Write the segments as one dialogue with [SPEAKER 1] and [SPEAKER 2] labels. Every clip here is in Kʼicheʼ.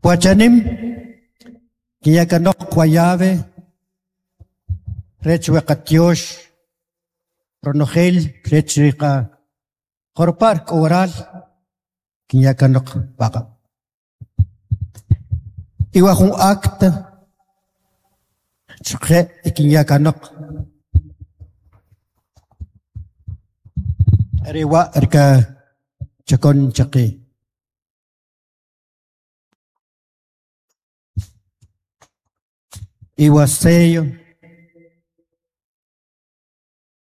[SPEAKER 1] Wachanim kinyakanoq wa llave rech we qatyox ronojel rech ri qa jorpar k'o waral kinyakanoq paq'ab'. Iwa jun acta chqe kinyakanoq are wa' rika chakon chaqe. Iwa sello.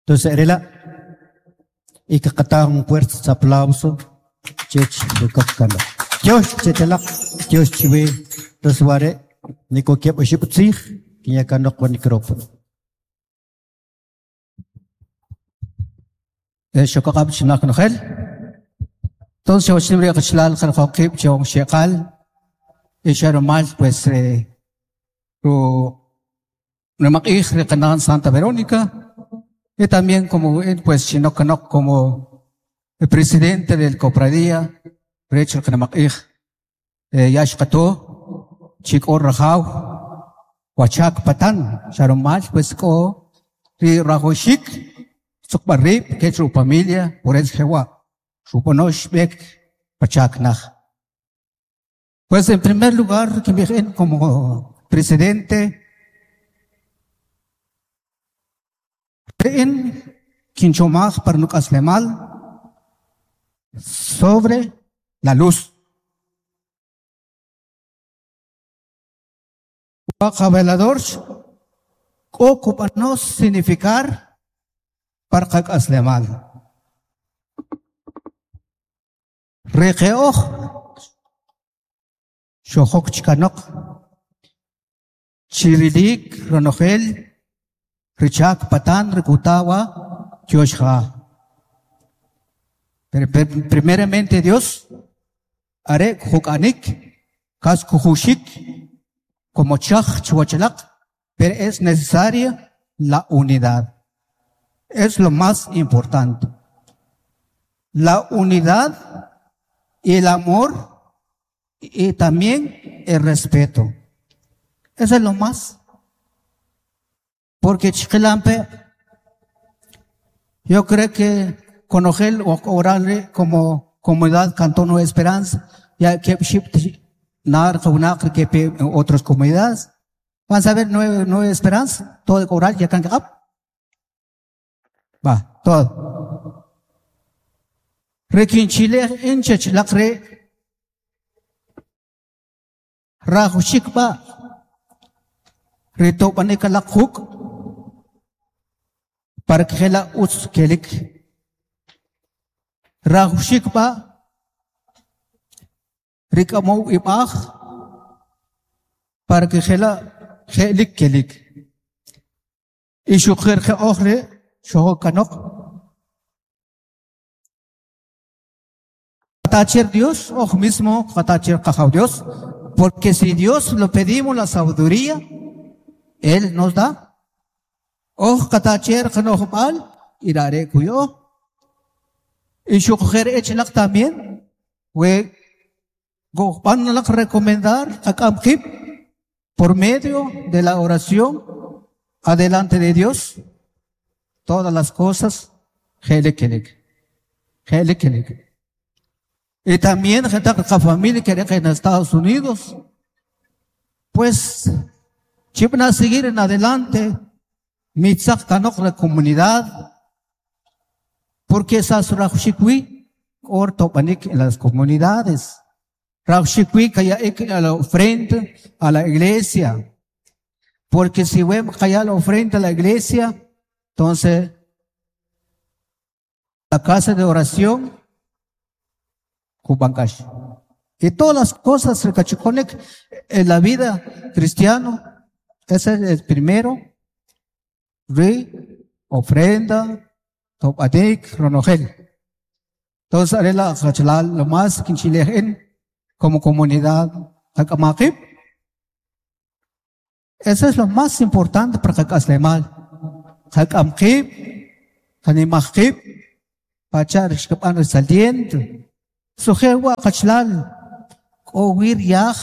[SPEAKER 1] Entonces, are la' y kaqata un fuerte aplauso chech rukok kanoq. Tyox chetalaq, tyox chiwe. Entonces, ware niko kieb' oxib' tzij kinyakanoq wa micrófono.
[SPEAKER 2] Xokaq'ab' chinaq nojel. Entonces, xawachnim ri qachalal qarqoqib' chong xeqal y xarumal pues ru nimaq'ij ri qanan Santa Verónica y también como pues chinokanok como el presidente del cofradía rech ri qanamaq'ij ya xqato chik'o rajaw wachak patan xarumal pues k'o ri rajoxik tzuqb'al rib' kech ru familia por eso jewa xub'ano xb'ek pachak naj. Pues en primer lugar, que me como presidente en kinchomaj par nuk'aslemal sobre la luz. Wa velador k'o kub'ano significar par qak'aslemal. Riqe'oj xojok chikanoq chirilik ronojel richak patan rikutawa tyoxja. Pero primeramente Dios are juk'anik kas kujuxik como chaj chuwachalaq, pero es necesaria la unidad. Es lo más importante. La unidad y el amor y también el respeto. Eso es lo más. Porque Chiquilampe, yo creo que konojel o orale como comunidad Cantón Nueva Esperanza, ya que nar que otras comunidades, van a ver Nueva Esperanza, todo oral ya kan Va, todo. Rekin Chile inche chlaqre rajushik ba ritobanik laqhuk para que la utz kelik rajushik ba rikamo ibaj para que jela jelik kelik y shukhir ke okhre shoho kanok Qatacher Dios, ojo mismo, qatacher qajaw Dios, porque si Dios lo pedimos la sabiduría, Él nos da. Oj qatacher qanojb'al, irare kuyo. Y shukhir echlaq también, we van a recomendar a por medio de la oración adelante de Dios todas las cosas. Y también gente la familia que en Estados Unidos, pues van a seguir en adelante mitzak kanok la comunidad, porque esas rajushikwi or topanik en las comunidades. Rajushikwi kaya a la ofrenda a la iglesia. Porque si vemos kaya la ofrenda a la iglesia, entonces la casa de oración Kubankash. Y todas las cosas que en la vida cristiano, ese es el primero. Re, ofrenda, topadik, ronojel. Entonces, arela lo más quinchilejen como comunidad, hakamakib. Eso es lo más importante para hakaslemal. Hakamkib, hanimahkib, pachar xkapan saliente. Sujewa kachlal, k'owir yaj,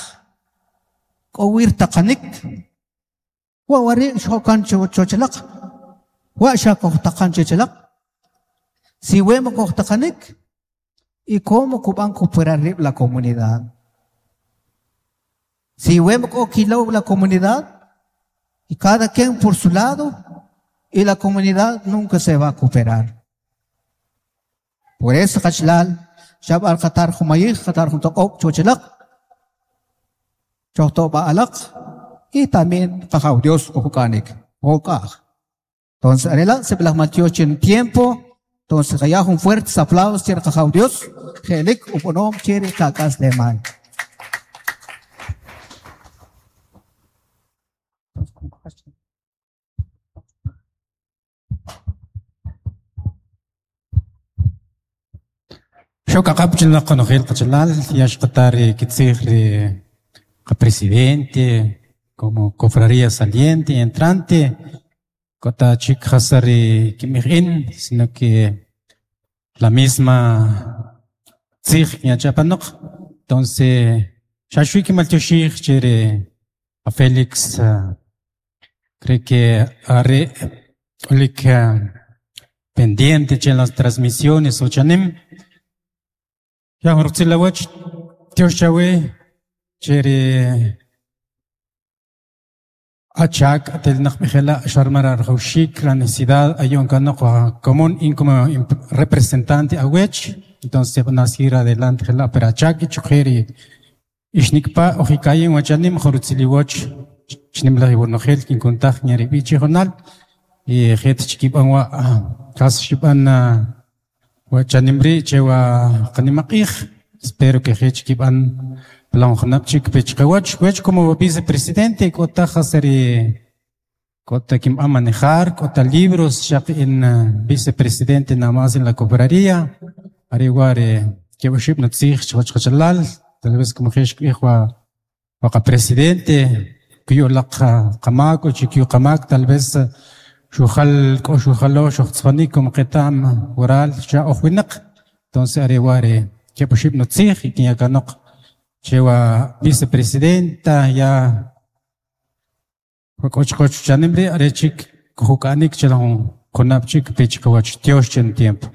[SPEAKER 2] K'o wi rtaqanik. Wa' wari' xjo'kan choch alaq. Wa' xa kojtaqan chech alaq. Si we ma kojtaqanik, ¿y cómo kub'an cooperar rib' la comunidad? Si we ma k'o kilow la comunidad, y cada quien por su lado, y la comunidad nunca se va a cooperar. Por eso, qachalal, xab'al qatar jumayij, qatar jun toq'ob' choch alaq, chojto'b'a alaq, y también qajaw Dios kojuk'anik, kojuk'aj. Entonces, arela, sib'alaj maltyox che tiempo, entonces qaya jun fuerte aplauso che qajaw Dios, je'lik ub'anom che ri qak'aslemal.
[SPEAKER 3] Xok aq'ab' chinaq qonojel qachalal ya xqata ri kitzij ri qapresidente como cofradía saliente y entrante k'o ta chik jas ri kinb'ij in sino que la misma tzij kinya apanoq entonces xa xwi kinmaltyoxij che ri a Félix creo que are k'olik pendiente che las transmisiones uchanim ya jun rutzil awach tyox chawe che ri achak atelnaq b'ijela' xarmar rajawxik la necesidad ayon kanoq común in como representante awech entonces van a seguir adelante jela' pero achak ichoqej ri ixnikpa' ojikayin wachanim jun rutzil iwach chnimlaj iwonojel kinkuntaj ñarib'i chijunal y jet chikib'an wa' qas xib'an wachanim rii' che wa qanimaq'iij espero que je chikib'an plan junab' chik pech qawach wech como vicepresidente k'o taj jas ri k'o ta kinb'an manejar k'o ta libros xaq in vicepresidente nada más en la cofradía are wa' ri keb' oxib' nutziij chiwach qachalal tal vez como je xkib'ij wa wa qapresidente kuyu'laq qamaak o chikyu qamaak tal vez xujal k'o xujalo xujtzijonik como qeta'm waral xa oj winaq entonces are wa' ri keb' oxib' nutziij y kinya kanoq che wa vicepresidenta ya wa k'o chiqwach chanim rii' are chik kujuk'anik che la jun junab' chik pech qawach tyox che tiempo.